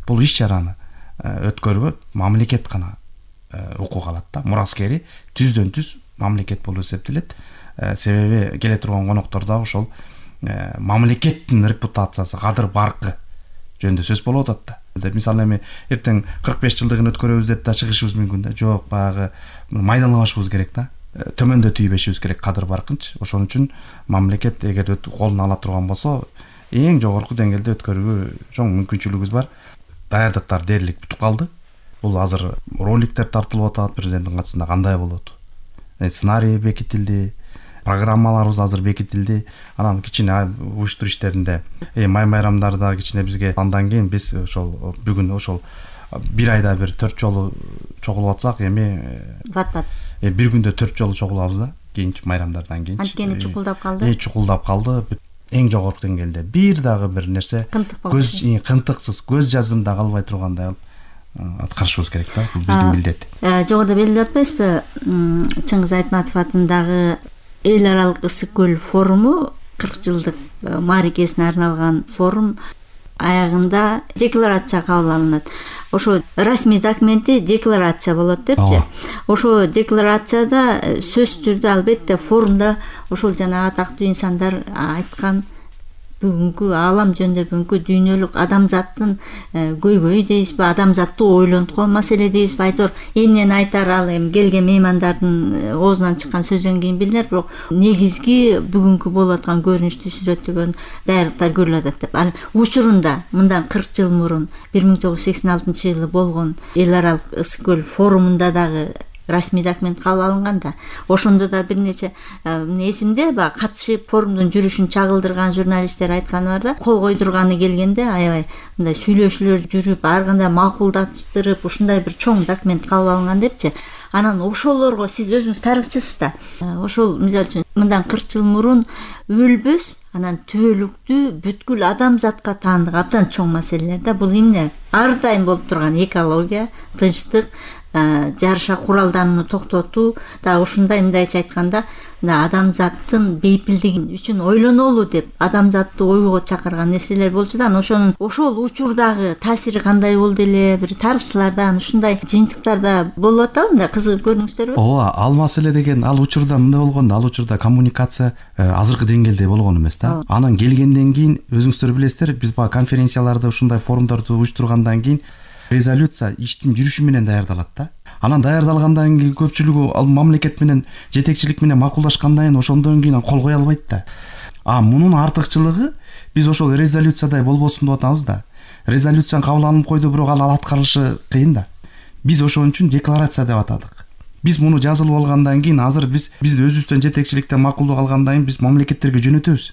бул иш чараны өткөрүүгө мамлекет гана укук алат да. Мураскери түздөн түз мамлекет болуп эсептелет. Себеби келе турган коноктор дагы ошол мамлекеттин репутациясы, кадыр баркы жөнүндө сөз болуп атат да. Мисалы эми эртең 45 жылдыгын өткөрөбүз деп да чыгышыбыз мүмкүн да. Жок, баягы майдалабашыбыз керек да. Төмөндө тийбешибиз керек кадыр баркынчы. Ошон үчүн мамлекет эгер колуна ала турган болсо, эң жогорку деңгээлде өткөрүүгө чоң мүмкүнчүлүгүбүз бар. Даярдыктар дээрлик бүтүп калды. Бул азыр роликтер тартылып атат президенттин катысында кандай болот. Сценарий бекитилди, программаларыбыз азыр бекитилди. Анан кичине уюштуруу иштеринде май майрамдарда кичине бизге андан кийин биз ошол бүгүн ошол бир айда бир 4 жолу чогулуп атсак, эми бат-бат бир күндө 4 жолу чогулабыз да. Кийинчи майрамдардан кийин. Анткени чукулдап калды. Чукулдап калды. Эң жогорку деңгээлде бир дагы бир нерсе кынтыксыз көз жазымда калбай тургандай аткарышыбыз керек да. Бул биздин милдет. Жогоруда белгилеп атпайсызбы? Чыңгыз Айтматов атындагы эл аралык ысык көл форуму 40 жылдык мааракесине арналган форум аягында декларация кабыл алынат. Ошо расмий документи декларация болот депчи. Ошо декларацияда сөзсүз түрдө албетте форумда ошол жана атактуу инсандар айткан бүгүнкү аалам жөнүндө, бүгүнкү дүйнөлүк адамзаттын көйгөйү дейбизби, адамзаттуу ойлонткон маселе дейбизби, айтор эмнени айтар ал эми келген меймандардын оозунан чыккан сөздөн кийин билинер, бирок негизги бүгүнкү болуп аткан көрүнүштү сүрөттөгөн даярдыктар көрүлүп атат деп. Ал учурунда мындан 40 жыл мурун 1986 жылы болгон эл аралык ысык көл форумунда дагы расмий документ кабыл алынганда, ошондо да бир нече эсимде баягы катышып форумдун жүрүшүн чагылдырган журналисттер айтканы бар да, кол койдурганы келгенде аябай мындай сүйлөшүүлөр жүрүп, ар кандай макулдаштырып, ушундай бир чоң документ кабыл алынган депчи. Анан ошолорго сиз өзүңүз тарыхчысыз да. Ошол мисалы үчүн мындан 40 жыл мурун өлбөс, анан түбөлүктүү бүткүл адамзатка таандык абдан чоң маселелер да. Бул эмне? Ар дайым болуп турган экология, тынчтык, жарыша куралданууну токтотуу, да ушундай мындайча айтканда, адамзаттын бейпилдиги үчүн ойлонолу деп адамзатты ойго чакырган нерселер болчу да. Ошол учурдагы таасири кандай болду эле, бир тарыхчылардан ушундай жыйынтыктарда болуп атабы, мындай кызыгып көрдүңүздөрбү? Ооба, ал маселе деген ал учурда мындай болгондо, ал учурда коммуникация азыркы деңгээлде болгон эмес да. Анан келгенден кийин өзүңүздөр билесиздер, биз баягы конференцияларды, ушундай форумдорду уюштургандан кийин резолюция иштин жүрүшү менен даярдалат да. Анан даярдалгандан кийин көпчүлүгү ал мамлекет менен, жетекчилик менен макулдашкандан кийин ошондон кийин кол кое албайт да. Мунун артыкчылыгы биз ошол резолюциядай болбосун деп атабыз да. Резолюцияны кабыл алынып койду, бирок ал аткарылышы кыйын да. Биз ошон үчүн декларация деп атадык. Биз муну жазылып алгандан кийин азыр биз өзүбүздөн жетекчиликтен макулдук алгандан кийин биз мамлекеттерге жөнөтөбүз.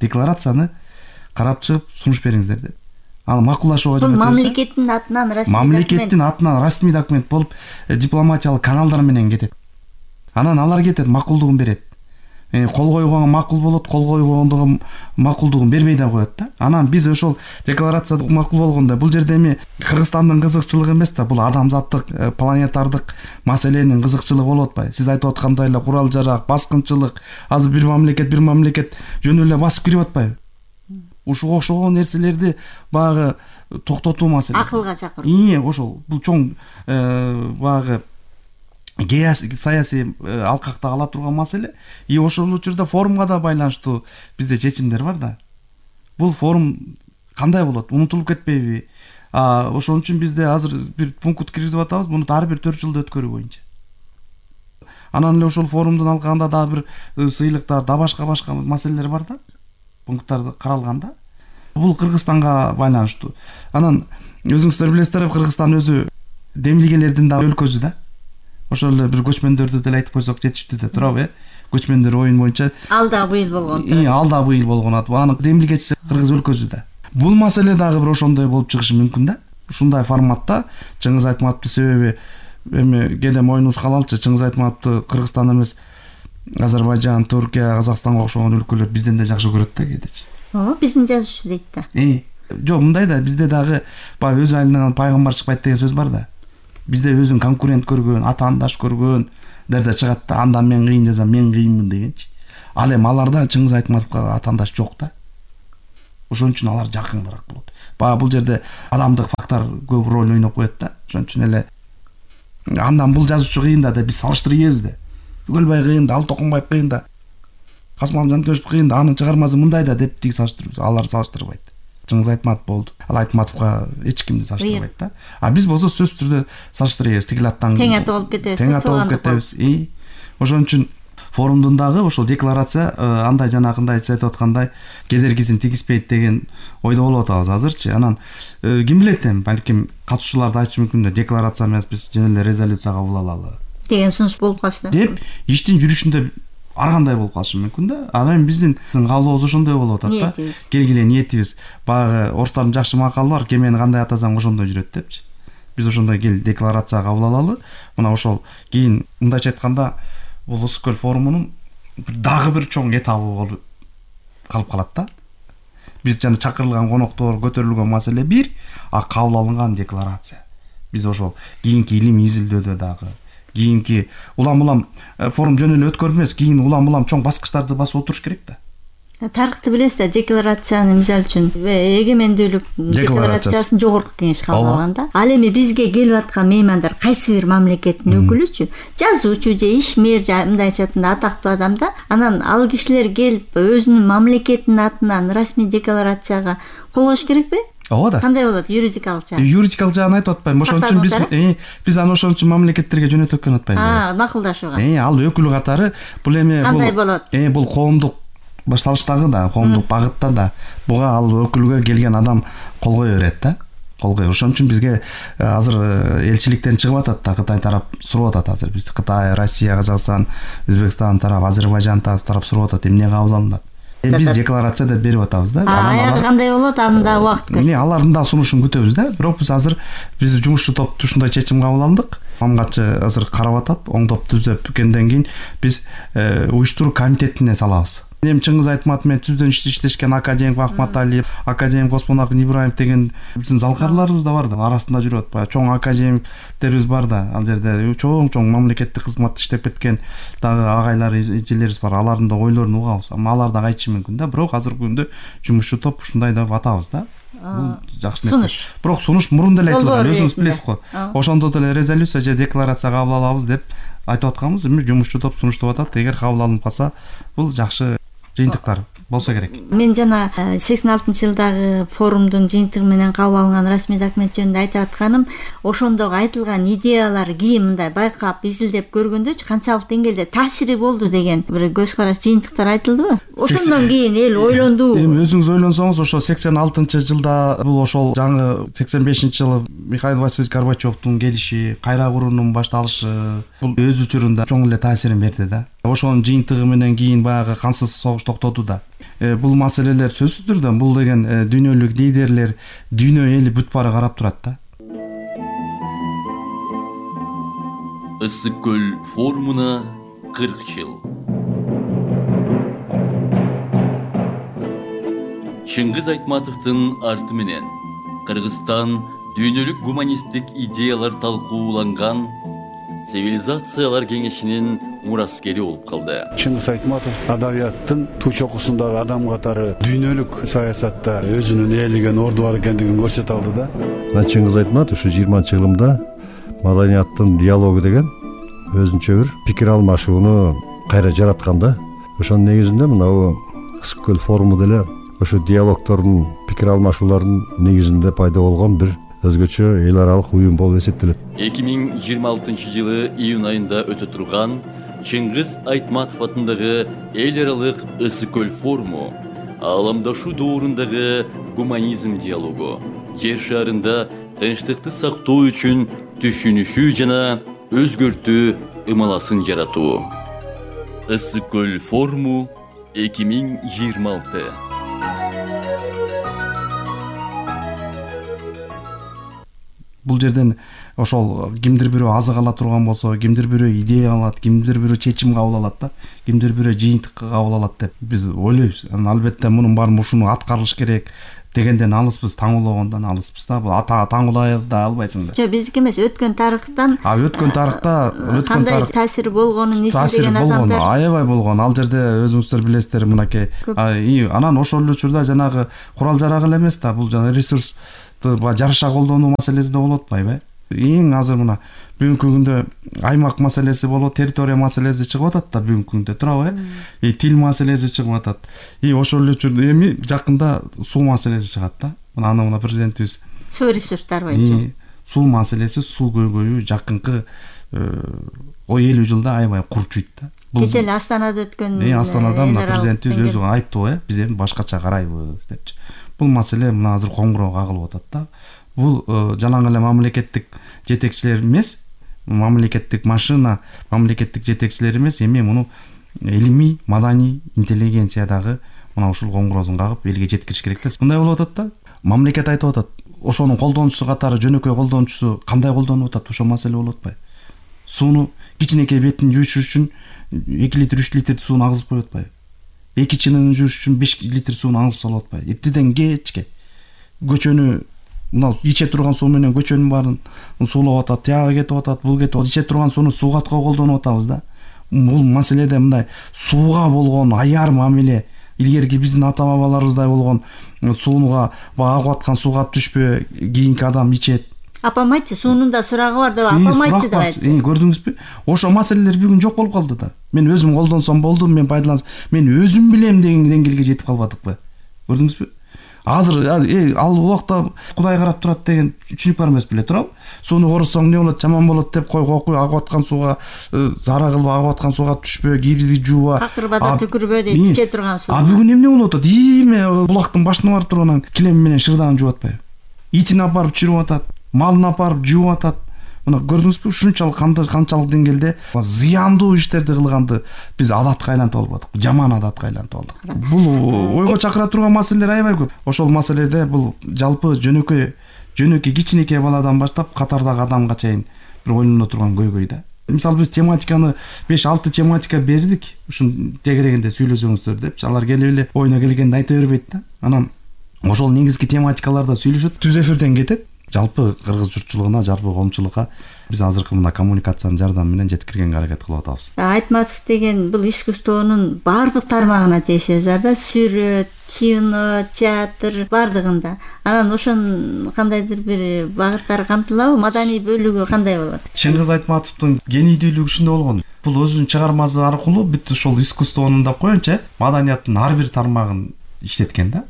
Декларацияны карап чыгып сунуш бериңиздер деп. Аны макулдашууга жөнөтөбүз. Мамлекеттин атынан расмий документ. Мамлекеттин атынан расмий документ болуп, дипломатиялык каналдар менен кетет. Анан алар кетет, макулдугун берет. Кол койгонго макул болот, кол койгондого макулдугун бербей да коет да. Анан биз ошол декларацияда макул болгондо, бул жерде эми Кыргызстандын кызыкчылыгы эмес да, бул адамзаттык, планетардык маселенин кызыкчылыгы болуп атпайбы? Сиз айтып аткандай эле курал жарак, баскынчылык, азыр бир мамлекет жөнү эле басып кирип атпайбы? Ушуга окшогон нерселерди баягы токтотуу маселеси. Акылга чакыруу. Ошол бул чоң баягы саясий алкакта кала турган маселе. Ошол учурда форумга да байланыштуу бизде чечимдер бар да. Бул форум кандай болот? Унутулуп кетпейби? Ошон үчүн бизде азыр бир пункт киргизип атабыз, муну ар бир 4 жылда өткөрүү боюнча. Анан эле ошол форумдун алкагында дагы бир сыйлыктар, да башка маселелер бар да. Пункттарды каралганда. Бул Кыргызстанга байланыштуу. Анан өзүңүздөр билесиздер, Кыргызстан өзү демилгелердин да өлкөсү да. Ошол эле бир көчмөндөрдү деле айтып койсок жетиштүү да турабы, Көчмөндөр оюн боюнча. Ал да быйыл болгон. Ал да быйыл болгон. Анын демилгечиси Кыргыз өлкөсү да. Бул маселе дагы бир ошондой болуп чыгышы мүмкүн да. Ушундай форматта Чыңгыз Айтматовду себеби эми кээде моюнубуз калалчы, Чыңгыз Айтматовду Кыргызстан эмес, Азербайжан, Түркия, Казакстанга окшогон өлкөлөр бизден да жакшы көрөт да кээдечи. Биздин жазуучу дейт да. Жок, мындай да, бизде дагы баягы өз айылынан пайгамбар чыкпайт деген сөз бар да. Бизде өзүн конкурент көргөн, атаандаш көргөн дерде чыгат да, андан мен кыйын жазам, мен кыйынмын дегенчи. Ал эми аларда Чыңгыз Айтматовго атаандаш жок да. Ошон үчүн алар жакыныраак болот. Баягы бул жерде адамдык фактор көп роль ойноп коет да. Ошон үчүн эле андан бул жазуучу кыйын да деп биз салыштырып ийебиз да. Түгөлбай кыйын да, Алтокунбаев кыйын да, Касымхан Жантөшев кыйын да, анын чыгармасы мындай да деп тиги салыштырабыз. Алар салыштырбайт. Чыңгыз Айтматов болду. Ал Айтматовго эч кимди салыштырбайт да. А биз болсо сөзсүз түрдө салыштырабыз. Тигил аттан тең ата болуп кетебиз. Тең ата болуп кетебиз. Ошон үчүн форумдун дагы ошол декларация андай жанагындай сиз айтып аткандай кедергисин тийгизбейт деген ойдо болуп атабыз азырчы. Анан ким билет эми, балким катышуулар да айтышы мүмкүн да, декларация эмес, биз жөн эле резолюция кабыл алалы деген сунуш болуп калса деп иштин жүрүшүндө ар кандай болуп калышы мүмкүн да. Ал эми биздин каалообуз ошондой болуп атат да. Келгиле ниетибиз. Баягы орустардын жакшы макалы бар, кемени кандай атасаң ошондой жүрөт депчи. Биз ошондой кел декларация кабыл алалы. Мына ошол кийин мындайча айтканда бул Ысык көл форумунун дагы бир чоң этабы болуп калып калат да. Биз жана чакырылган коноктор, көтөрүлгөн маселе бир, а кабыл алынган декларация. Биз ошол кийинки илимий изилдөөдө дагы, кийинки улам форум жөн эле өткөрмөс, кийин улам чоң баскычтарды басып отуруш керек да. Тарыхты билесиз да, декларацияны мисалы үчүн эгемендүүлүк декларациясын жогорку кеңеш кабыл алган да. Ал эми бизге келип аткан меймандар кайсы бир мамлекеттин өкүлүчү, жазуучу же ишмер же мындайча айтканда атактуу адам да. Анан ал кишилер келип өзүнүн мамлекетинин атынан расмий декларацияга кол коюш керекпи? Ооба да. Кандай болот юридикалык жагы? Юридикалык жагын айтып атпайм. Ошон үчүн биз аны ошон үчүн мамлекеттерге жөнөтүп өткөн атпайбы? Макулдашууга. Ал өкүл катары бул эми кандай болот? Бул коомдук башталыштагы да, коомдук багытта да буга ал өкүлгө келген адам кол кое берет да. Кол кое. Ошон үчүн бизге азыр элчиликтен чыгып атат да, Кытай тарап сурап атат азыр. Биз Кытай, Россия, Казакстан, Өзбекстан тарап, Азербайжан тарап сурап атат, эмне кабыл алынат. Биз декларация деп берип атабыз да. Анан кандай болот? Анда убакыт керек. Алардын да сунушун күтөбүз да. Бирок биз азыр жумушчу топ ушундай чечим кабыл алдык. Мамгатчы азыр карап атат, оңдоп түзөп келгенден кийин биз уюштуруу комитетине салабыз. Эми Чыңгыз Айтматов менен түздөн иштешкен академик Ахматалиев, академик Оспонакын Ибраев деген биздин залкарларыбыз да бар да, арасында жүрөт. Чоң академиктерибиз бар да, ал жерде чоң мамлекеттик кызматта иштеп кеткен дагы агайлар, эжелерибиз бар. Алардын да ойлорун угабыз. Алар да айтышы мүмкүн да. Бирок азыркы күндө жумушчу топ ушундай деп атабыз да. Бул жакшы нерсе. Бирок сунуш мурун деле айтылган, өзүңүз билесиз го. Ошондо деле резолюция же декларация кабыл алабыз деп айтып атканбыз. Эми жумушчу топ сунуштап атат. Эгер кабыл алынып калса, бул жакшы жыйынтыктар болсо керек. Мен жана 86-жылдагы форумдун жыйынтыгы менен кабыл алынган расмий документ жөнүндө айтып атканым, ошондогу айтылган идеялар кийин мындай байкап, изилдеп көргөндөчү канчалык деңгээлде таасири болду деген бир көз караш жыйынтыктар айтылдыбы? Ошондон кийин эл ойлонду. Эми өзүңүз ойлонсоңуз, ошо 86-жылда бул ошол жаңы 85-жылы Михаил Васильевич Горбачевдун келиши, кайра куруунун башталышы, бул өз учурунда чоң эле таасирин берди да. Ошонун жыйынтыгы менен кийин баягы кансыз согуш токтоду да. Бул маселелер сөзсүз түрдө бул деген дүйнөлүк лидерлер, дүйнө эли бүт баары карап турат да. Ысык көл форумуна 40 жыл. Чыңгыз Айтматовдун арты менен Кыргызстан дүйнөлүк гуманисттик идеялар талкууланган цивилизациялар кеңешинин мураскери болуп калды. Чыңгыз Айтматов адабияттын туу чокусундагы адам катары дүйнөлүк саясатта өзүнүн ээлеген орду бар экендигин көрсөтө алды да. Чыңгыз Айтматов ушу 20-жылымда маданияттын диалогу деген өзүнчө бир пикир алмашууну кайра жараткан да. Ошонун негизинде мына Ысык көл форуму деле ошо диалогтордун, пикир алмашуулардын негизинде пайда болгон бир өзгөчө эл аралык уюм болуп эсептелет. 2026 жылы июнь айында өтө турган Чыңгыз Айтматов атындагы эл аралык Ысык көл форуму ааламдашуу доорундагы гуманизм диалогу, жер шарында тынчтыкты сактоо үчүн түшүнүшүү жана өзгөртүү ымаласын жаратуу. Ысык көл форуму 2026. Бул жерден ошол кимдир бирөө азык ала турган болсо, кимдир бирөө идея алат, кимдир бирөө чечим кабыл алат да, кимдир бирөө жыйынтык кабыл алат деп биз ойлойбуз. Албетте мунун баарын ушуну аткарылыш керек, дегенден алыспыз, таңуулогондон алыспыз да. Бул таңуулай да албайсың да. Жок, биздики эмес, өткөн тарыхтан. Өткөн тарыхта кандай таасир болгонун эсиндеген адамдар. Аябай болгон. Ал жерде өзүңүздөр билесиздер, мынакей. Анан ошол эле учурда жанагы курал жарак эле эмес да, бул жана ресурсту жараша колдонуу маселеси да болуп атпайбы? Эң азыр мына бүгүнкү күндө аймак маселеси болот, территория маселеси чыгып атат да бүгүнкү күндө, туурабы? Тил маселеси чыгып атат. Ошол эле учурда эми жакында суу маселеси чыгат да. Мына президентибиз суу ресурстары боюнча суу маселеси, суу көйгөйү жакынкы 50 жылда аябай курчуйт да. Кече эле Астанада өткөн Астанада мына президентибиз өзү айттыбы, биз эми башкача карайбыз депчи. Бул маселе мына азыр коңгуроо кагылып атат да. Бул жалаң эле мамлекеттик жетекчилер эмес, мамлекеттик машина, мамлекеттик жетекчилер эмес, эми муну илимий, маданий интеллигенциядагы мына ушул коңгуроосун кагып элге жеткириш керек да. Мындай болуп атат да. Мамлекет айтып атат, ошонун колдонуучусу катары жөнөкөй колдонуучусу кандай колдонуп атат, ошол маселе болуп атпайбы? Сууну кичинекей бетин жууш үчүн 2 литр, 3 литр сууну агызып коюп атпайбы? 2 чынын жууш үчүн 5 литр сууну агызып салып атпайбы? Эптеден кечке көчөнү мына иче турган суу менен көчөнүн баарын суулап атат, тияга кетип атат, бул кетип атат. Иче турган сууну суугаткы колдонуп атабыз да. Бул маселеде мындай сууга болгон аяр мамиле, илгерки биздин ата-бабаларыбыздай болгон сууга агып аткан сууга түшпө, кийинки адам ичет. Апам айтчы, суунун да сурагы бар деп, апам айтчы деп айтчы. Көрдүңүзбү? Ошол маселелер бүгүн жок болуп калды да. Мен өзүм колдонсом болду, мен пайдалансам, мен өзүм билем деген деңгээлге жетип калбадыкпы? Көрдүңүзбү? Азыр ал убакта Кудай карап турат деген түшүнүк бар эмес беле, туурабы? Сууну корусоң не болот, жаман болот деп койгой агып аткан сууга зара кылып агып аткан сууга түшпө, кийиди жууба. Акырбада түкүрбө дейт, иче турган суу. Бүгүн эмне болуп атат? Эме булактын башына барып турганан килем менен шырдагын жууп атпайбы? Итин апарып чирүп атат, малын апарып жууп атат. Мына көрдүңүзбү, ушунчалык канчалык деңгээлде зыяндуу иштерди кылганды биз адатка айлантып алып атык, жаман адатка айлантып алдык. Бул ойго чакыра турган маселелер аябай көп. Ошол маселеде бул жалпы жөнөкөй кичинекей баладан баштап катардагы адамга чейин бир ойлоно турган көйгөй да. Мисалы биз тематиканы 5-6 тематика бердик, ушун тегерегинде сүйлөсөңүздөр депчи, алар келип эле ойуна келгенди айта бербейт да. Анан ошол негизги тематикаларда сүйлөшөт, түз эфирден кетет. Жалпы кыргыз журтчулугуна, жалпы коомчулукка биз азыркы мына коммуникациянын жардамы менен жеткиргенге аракет кылып атабыз. Айтматов деген бул искусствонун баардык тармагына тиешеси бар да, сүрөт, кино, театр баардыгында. Анан ошонун кандайдыр бир багыттары камтылабы, маданий бөлүгү кандай болот? Чыңгыз Айтматовдун генийдүүлүгү ушундай болгон. Бул өзүнүн чыгармасы аркылуу бүт ошол искусствонун да коеюнча маданияттын ар бир тармагын иштеткен да.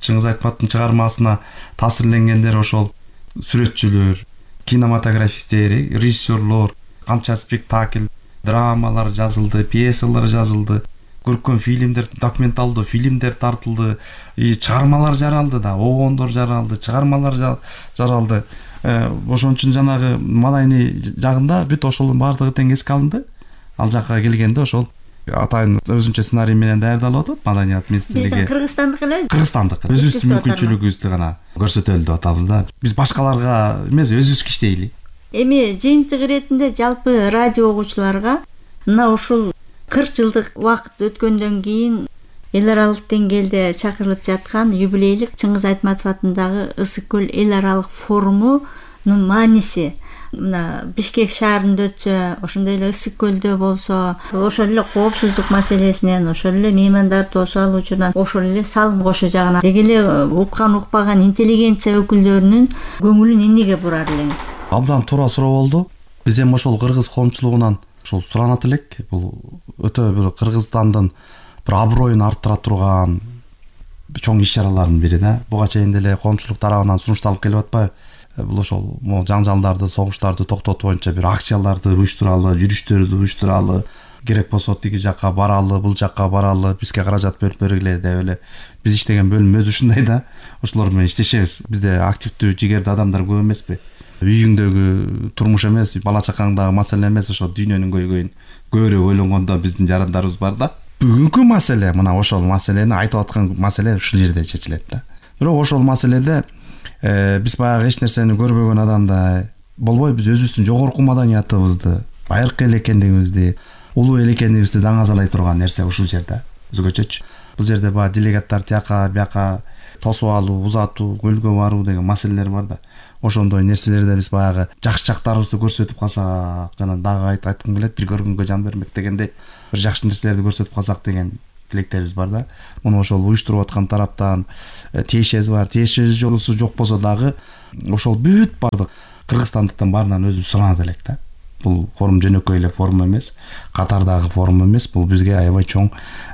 Чыңгыз Айтматовдун чыгармасына таасирленгендер ошол сүрөтчүлөр, кинематографисттер, режиссерлор, канча спектакль, драмалар жазылды, пьесалар жазылды, көркөм фильмдер, документалдуу фильмдер тартылды, чыгармалар жаралды да, обондор жаралды, чыгармалар жаралды. Ошон үчүн жанагы маданий жагында бүт ошолдун баардыгы тең эске алынды. Ал жакка келгенде ошол атайын өзүнчө сценарий менен даярдалып атат маданият министрлиги. Биздин кыргызстандык эле? Кыргызстандык. Өзүбүздүн мүмкүнчүлүгүбүздү гана көрсөтөлү деп атабыз да. Биз башкаларга эмес, өзүбүз иштейли. Эми жыйынтык иретинде жалпы радио угуучуларга мына ушул 40 жылдык убакыт өткөндөн кийин эл аралык деңгээлде чакырылып жаткан юбилейлик Чыңгыз Айтматов атындагы Ысык көл эл аралык форумунун мааниси, мына Бишкек шаарында өтсө, ошондой эле Ысык көлдө болсо, ошол эле коопсуздук маселесинен, ошол эле меймандарды тосуп алуучудан, ошол эле салым кошо жагына деги эле уккан укпаган интеллигенция өкүлдөрүнүн көңүлүн эмнеге бурар элеңиз? Абдан туура суроо болду. Биз эми ошол кыргыз коомчулугунан ошол суранат элек. Бул өтө бир Кыргызстандын бир аброюн арттыра турган чоң иш-чаралардын бири да. Буга чейин деле коомчулук тарабынан сунушталып келип атпайбы? Бул ошол жаңжалдарды, согуштарды токтотуу боюнча бир акцияларды уюштуралы, жүрүштөрдү уюштуралы, керек болсо тиги жакка баралы, бул жакка баралы, бизге каражат бөлүп бергиле деп эле биз иштеген бөлүм өзү ушундай да. Ошолор менен иштешебиз. Бизде активдүү, жигердүү адамдар көп эмеспи? Үйүңдөгү турмуш эмес, бала чакаңдагы маселе эмес, ошо дүйнөнүн көйгөйүн көбүрөөк ойлонгондо биздин жарандарыбыз бар да. Бүгүнкү маселе, мына ошол маселени айтып аткан маселе ушул жерде чечилет да. Бирок ошол маселеде биз баягы эч нерсени көрбөгөн адамдай болбой, биз өзүбүздүн жогорку маданиятыбызды, байыркы эл экендигибизди, улуу эл экендигибизди даңазалай турган нерсе ушул жерде өзгөчөчү. Бул жерде баягы делегаттар тияка бияка тосуп алуу, узатуу, көлгө баруу деген маселелер бар да. Ошондой нерселерди биз баягы жакшы жактарыбызды көрсөтүп калсак, жана дагы айткым келет, бир көргөнгө жан бермек дегендей бир жакшы нерселерди көрсөтүп калсак деген тилектерибиз бар да. Муну ошол уюштуруп аткан тараптан тиешеси бар. Тиешеси жок болсо дагы ошол бүт бардык кыргызстандыктан баарынан өзү суранат элек да. Бул форум жөнөкөй эле форум эмес, катардагы форум эмес, бул бизге аябай чоң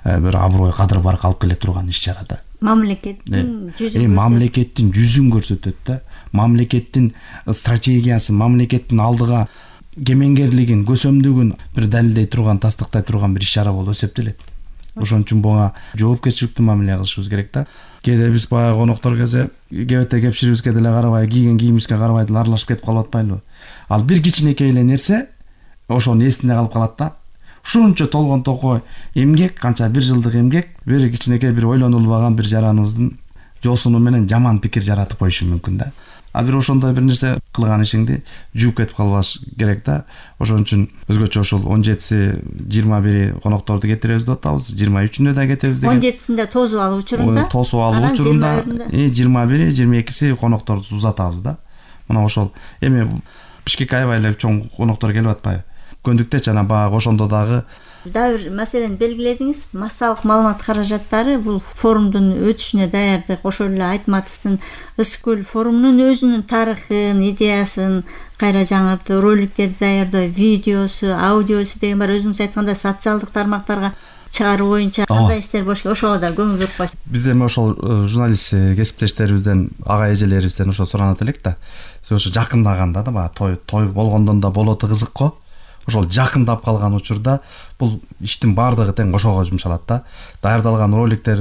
бир аброй, кадыр барк алып келе турган иш-чара да. Мамлекеттин жүзүн мамлекеттин жүзүн көрсөтөт да. Мамлекеттин стратегиясын, мамлекеттин алдыга кемеңгерлигин, көсөмдүгүн бир далилдей турган, тастыктай турган бир иш-чара болуп эсептелет. Ошон үчүн буга жоопкерчиликтүү мамиле кылышыбыз керек да. Кээде биз баягы коноктор келсе, кебете кепширибизге деле карабай, кийген кийимибизге карабай деле аралашып кетип калып атпайлыбы? Ал бир кичинекей эле нерсе ошонун эсинде калып калат да. Ушунча толгон токой эмгек, канча бир жылдык эмгек, бир кичинекей бир ойлонулбаган бир жараныбыздын жоосуну менен жаман пикир жаратып коюшу мүмкүн да. А бир ошондой бир нерсе кылган ишиңди жууп кетип калбаш керек да. Ошон үчүн өзгөчө ошол 17-си 21 конокторду кетиребиз деп атабыз. 23-үндө да кетебиз деген. 17-синде тосуп алуу учурунда. Тосуп алуу учурунда 21, 22-си конокторду узатабыз да. Мына ошол эми Бишкекке аябай эле чоң коноктор келип атпайбы? Көндүктө жана баягы ошондо дагы бир маселени белгиледиңиз. Массалык маалымат каражаттары бул форумдун өтүшүнө даярдык, ошол эле Айтматовдун Ысык-Көл форумунун өзүнүн тарыхын, идеясын кайра жаңыртып, роликтерди даярдоо, видеосу, аудиосу деген бар. Өзүңүз айткандай социалдык тармактарга чыгаруу боюнча кандай иштер болуш керек, ошого да көңүл буруп коюш. Биз эми ошол журналист кесиптештерибизден, ага эжелерибизден ошо суранат элек да. Сиз ошо жакындаганда да баягы той болгондон да болоту кызык го. Ошол жакындап калган учурда бул иштин баардыгы тең ошого жумшалат да. Даярдалган роликтер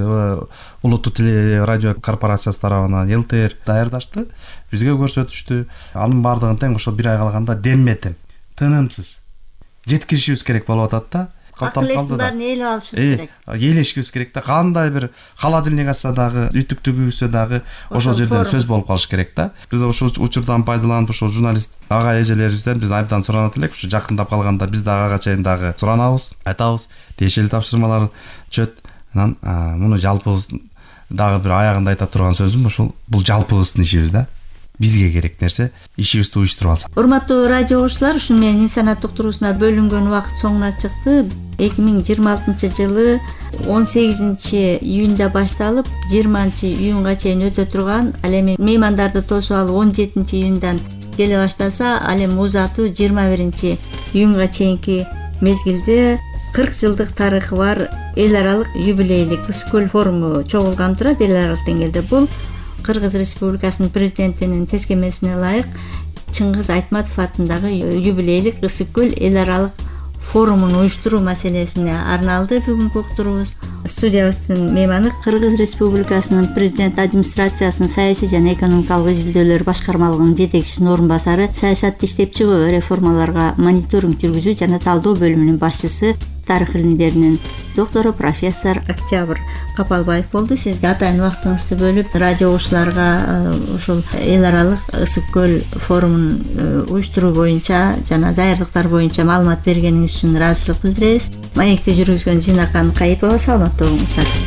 Улуттук теле радио корпорациясы тарабынан ЛТР даярдашты, бизге көрсөтүштү. Анын баардыгын тең ошо бир ай калганда демметим, тынымсыз жеткиришибиз керек болуп атат да. Акылестин баарын ээлеп алышыбыз керек. Ээлешибиз керек да. Кандай бир холодильник ачса дагы, үтүк төгүлсө дагы ошол жерден сөз болуп калыш керек да. Биз ошол учурдан пайдаланып ошол журналист ага эжелерибизден биз абдан суранат элек. Ушу жакындап калганда биз дагы ага чейин дагы суранабыз, айтабыз, тиешелүү тапшырмалар түшөт. Анан муну жалпыбыз дагы бир аягында айта турган сөзүм ошол бул жалпыбыздын ишибиз да. Бизге керек нерсе ишибизди уюштуруп алсак. Урматтуу радио угуучулар, ушуну менен инсаният уктуруусуна бөлүнгөн убакыт соңуна чыкты. 2026-жылы 18-июнда башталып 20-июнга чейин өтө турган, ал эми меймандарды тосуп алуу 17-июндан келе баштаса, ал эми узатуу 21-июнга чейинки мезгилде 40 жылдык тарыхы бар эл аралык юбилейлик Ысык-Көл форуму чогулган турат эл аралык деңгээлде. Бул Кыргыз Республикасынын президентинин тескемесине ылайык Чыңгыз Айтматов атындагы юбилейлик Ысык-Көл эл аралык форумун уюштуруу маселесине арналды бүгүнкү уктуруубуз. Студиябыздын мейманы Кыргыз Республикасынын президент администрациясынын саясий жана экономикалык изилдөөлөр башкармалыгынын жетекчисинин орун басары, саясатты иштеп чыгуу, реформаларга мониторинг жүргүзүү жана талдоо бөлүмүнүн башчысы, тарых илимдеринин доктору профессор Октябрь Капалбаев болду. Сизге атайын убактыңызды бөлүп, радио угуучуларга ошол эл аралык Ысык-Көл форумун уюштуруу боюнча жана даярдыктар боюнча маалымат бергениңиз үчүн ыраазычылык билдиребиз. Маекти жүргүзгөн Зинакан Кайыпова, саламаттуу болуңуздар.